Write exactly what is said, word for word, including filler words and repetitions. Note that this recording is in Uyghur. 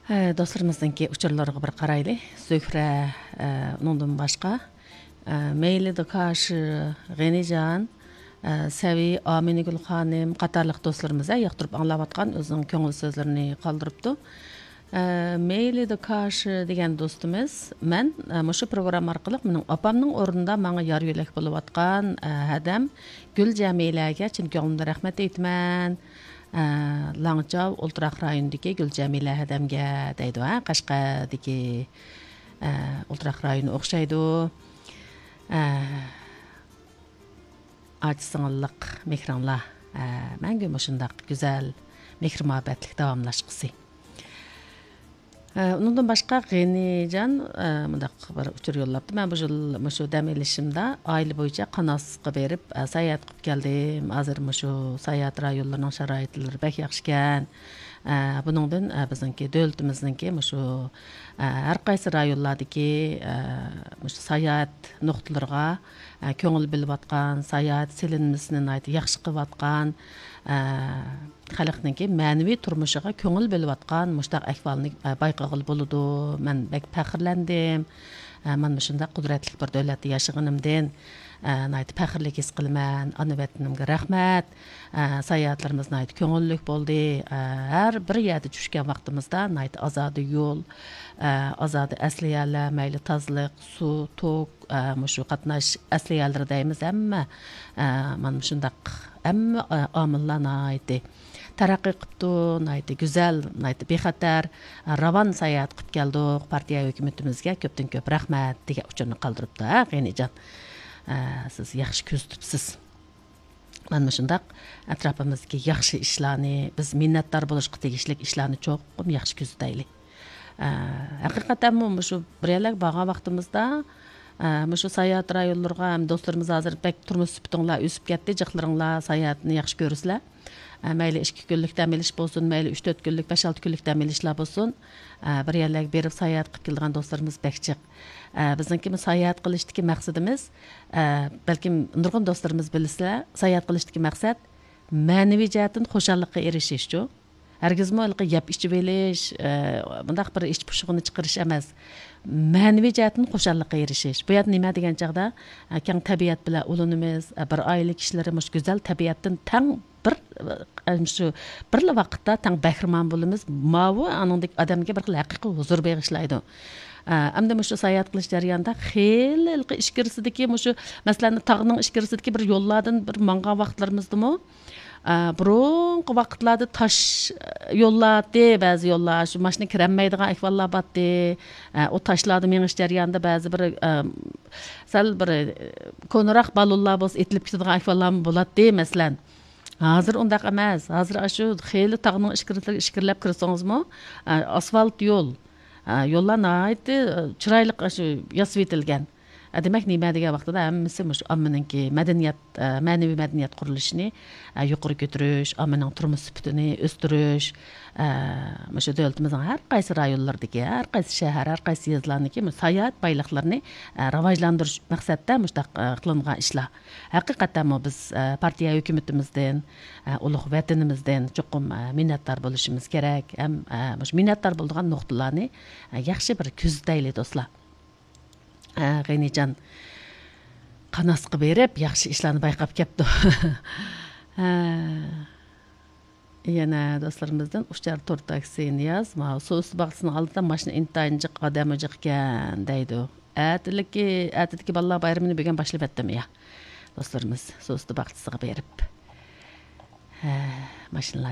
ھە، دوستلىرىمىزنىڭكى ئۇچۇرلىرىغا بىر قارايلى. زۆھرە، ئە، ئۇنىڭدىن باشقا، ئە، مەيلى دۇكاش، غېنىجان، ئە، سەۋى، ئامىنىگۈل خانىم قاتارلىق دوستلىرىمىز، ئە، ياقتۇرۇپ ئاڭلاۋاتقان ئۆزىنىڭ كۆڭۈل سۆزلىرىنى قالدۇرۇپتۇ. ئە، مەيلى دۇكاش دېگەن دوستىمىز، مەن، ئە، مۇشۇ پروگرامما ئارقىلىق مېنىڭ ئاپامنىڭ ئورنىدا ماڭا يار يۆلەك بولۇۋاتقان، ئە، ھەدەم گۈل جەمىلەگە چىن كۆڭلۈمدىن رەھمەت ئېيتىمەن. ئە، لاڭچاۋ ئولتۇراق رايونىدىكى گۈل جەمىلە ھەدەمگە دەيدۇ، ھە، قەشقەردىكى، ئە، ئولتۇراق رايونى ئوخشايدۇ. ئە، ئاچا سىڭىللىق مېھرىڭلار، ئە، مەڭگۈ مۇشۇنداق گۈزەل مېھرى مۇھەببەتلىك داۋاملاشقۇسى. ئە، ئۇنىڭدىن باشقا غېنىجان، ئە، مۇنداق بىر ئۇچۇر يوللاپتۇ. مەن بۇ يىل مۇشۇ دەم ئېلىشىمدا ئائىلە بويىچە قاناسقا بېرىپ، ئە، ساياھەت قىلىپ كەلدىم. ھازىر مۇشۇ ساياھەت رايونلىرىنىڭ شارائىتلىرى بەك ياخشىكەن. ئە، بۇنىڭدىن، ئە، بىزنىڭكى دۆلىتىمىزنىڭكى مۇشۇ، ئە، ھەر قايسى رايونلاردىكى، ئە، مۇشۇ ساياھەت نۇقتىلىرىغا، ئە، كۆڭۈل بۆلۈۋاتقان، ساياھەت سېلىنمىسىنى ناھايىتى ياخشى قىلىۋاتقان، ئە، خەلقنىڭكى مەنىۋى تۇرمۇشىغا كۆڭۈل بۆلۈۋاتقان مۇشۇنداق ئەھۋالنى، ئە، بايقىغىلى بولىدۇ. مەن بەك پەخىرلەندىم. ئە، مانا مۇشۇنداق قۇدرەتلىك بىر دۆلەتتە ياشىغىنىمدىن، ئە، ناھايىتى پەخىرلىك ھېس قىلىمەن. ئانا ۋەتىنىمگە رەھمەت. ئە، ساياھەتلىرىمىز ناھايىتى كۆڭۈللۈك بولدى. ئە، ھەر بىر يەردە چۈشكەن ۋاقتىمىزدا ناھايىتى ئازادە يول، ئە، ئازادە ئەسلىھەلەر، مەيلى تازىلىق، سۇ، توك، ئە، مۇشۇ قاتناش ئەسلىھەلىرى دەيمىز، ھەممە، ئە، مانا مۇشۇنداق ھەممە، ئە، ئامىللار ناھايىتى تەرەققىي قىپتۇ، ناھايىتى گۈزەل، ناھايىتى بىخەتەر، ئە، راۋان ساياھەت قىپ كەلدۇق. پارتىيە ھۆكۈمىتىمىزگە كۆپتىن كۆپ رەھمەت دېگەن ئۇچۇرنى قالدۇرۇپتۇ، ھە، غېنىجان. ئە، سىز ياخشى كۆزىتىپسىز. مانا مۇشۇنداق ئەتراپىمىزدىكى ياخشى ئىشلارنى، بىز مىننەتدار بولۇشقا تېگىشلىك ئىشلارنى چوقۇم ياخشى كۆزىتەيلى. ئە، ھەقىقەتەنمۇ مۇشۇ بىر يەرلەرگە بارغان ۋاقتىمىزدا، ئە، مۇشۇ ساياھەت رايونلىرىغا ھەم دوستلىرىمىز ھازىر بەك تۇرمۇش سۈپىتىڭلار ئۆسۈپ كەتتى، جىقلىرىڭلار ساياھەتنى ياخشى كۆرىسىلەر. ئە، مەيلى ئىككى كۈنلۈك دەم ئېلىش بولسۇن، مەيلى ئۈچ تۆت كۈنلۈك، بەش ئالتە كۈنلۈك دەم ئېلىشلار بولسۇن، ئە، بىر يەرلەرگە بېرىپ ساياھەت قىلىپ كېلىدىغان دوستلىرىمىز بەك جىق. ئە، بىزنىڭكى بۇ ساياھەت قىلىشتىكى مەقسىتىمىز، ئە، بەلكىم نۇرغۇن دوستلىرىمىز بىلىسىلەر، ساياھەت قىلىشتىكى مەقسەت مەنىۋى جەھەتتىن خۇشاللىققا ئېرىشىشچۇ. ھەرگىزمۇ ھېلىقى يەپ ئىچىۋېلىش، ئە، مۇنداق بىر ئىچ پۇشۇقىنى چىقىرىش ئەمەس. مەنىۋى جەھەتتىن خۇشاللىققا ئېرىشىش. بۇ يەردە نېمە دېگەن چاغدا، ئە، كەڭ تەبىئەت بىلەن ئۇلىنىمىز، ئە، بىر ئائىلە كىشىلىرى مۇشۇ گۈزەل تەبىئەتتىن تەڭ بىر، ئە، شۇ بىرلا ۋاقىتتا تەڭ بەھرىمەن بولىمىز. ماۋۇ ئانىڭدەك ئادەمگە بىر خىل ھەقىقىي ھۇزۇر بېغىشلايدۇ. ئە، ئەمدى مۇشۇ ساياھەت قىلىش جەريانىدا خېلى ھېلىقى ئىچكىرىسىدىكى مۇشۇ، مەسىلەن، تاغنىڭ ئىچكىرىسىدىكى بىر يوللاردىن بىر ماڭغان ۋاقىتلىرىمىزدىمۇ، ئە، بۇرۇنقى ۋاقىتلاردا تاش يوللار ئىدى، بەزى يوللار، شۇ ماشىنا كىرەلمەيدىغان ئەھۋاللار بارتتى. ئە، ئۇ تاشلاردا مېڭىش جەريانىدا بەزى بىر، ئە، سەل بىر، ئە، كونىراق بالونلار بولسا ئېتىلىپ كېتىدىغان ئەھۋاللارمۇ بولاتتى، مەسىلەن. ھازىر ئۇنداق ئەمەس. ھازىر ئاشۇ خېلى تاغنىڭ ئىچكىرىلىرىگە ئىچكىرىلەپ كىرسىڭىزمۇ، ئە، ئاسفالت يول. ئە، يوللار ناھايىتى، ئە، چىرايلىق ئاشۇ ياسىۋېتىلگەن. ئە، دېمەك، نېمە دېگەن ۋاقتىدا ھەممىسى مۇشۇ ئاممىنىڭكى مەدەنىيەت، ئە، مەنىۋى مەدەنىيەت قۇرۇلۇشىنى، ئە، يۇقىرى كۆتۈرۈش، ئاممىنىڭ تۇرمۇش سۈپىتىنى ئۆستۈرۈش، ئە، مۇشۇ دۆلىتىمىزنىڭ ھەر قايسى رايونلىرىدىكى، ھەر قايسى شەھەر، ھەر قايسى يېزىلارنىڭكى مۇشۇ ساياھەت بايلىقلىرىنى، ئە، راۋاجلاندۇرۇش مەقسەتتە مۇشۇنداق، ئە، قىلىنغان ئىشلار. ھەقىقەتەنمۇ بىز، ئە، پارتىيە ھۆكۈمىتىمىزدىن، ئە، ئۇلۇغ ۋەتىنىمىزدىن چوقۇم، ئە، مىننەتدار بولۇشىمىز كېرەك. ھەم، ئە، مۇشۇ مىننەتدار بولىدىغان نۇقتىلارنى، ئە، ياخشى بىر كۆزىتەيلى، دوستلار. ئە، غېنىجان قاناسقا بېرىپ، ياخشى ئىشلارنى بايقاپ كەپتۇ. ھە. يەنە دوستلىرىمىزدىن ئۇچار تور تاكسى نىياز، ماۋۇ سۇ ئۈستى باغچىسىنىڭ ئالدىدا ماشىنا ئىنتايىن جىق، ئادەم جىق ئىكەن دەيدۇ. ئەتىلىكى، ئەتىدىكى بالىلار بايرىمىنى بۈگۈن باشلىۋەتتىم يا. دوستلىرىمىز سۇ ئۈستى باغچىسىغا بېرىپ. ھە، ماشىنىلار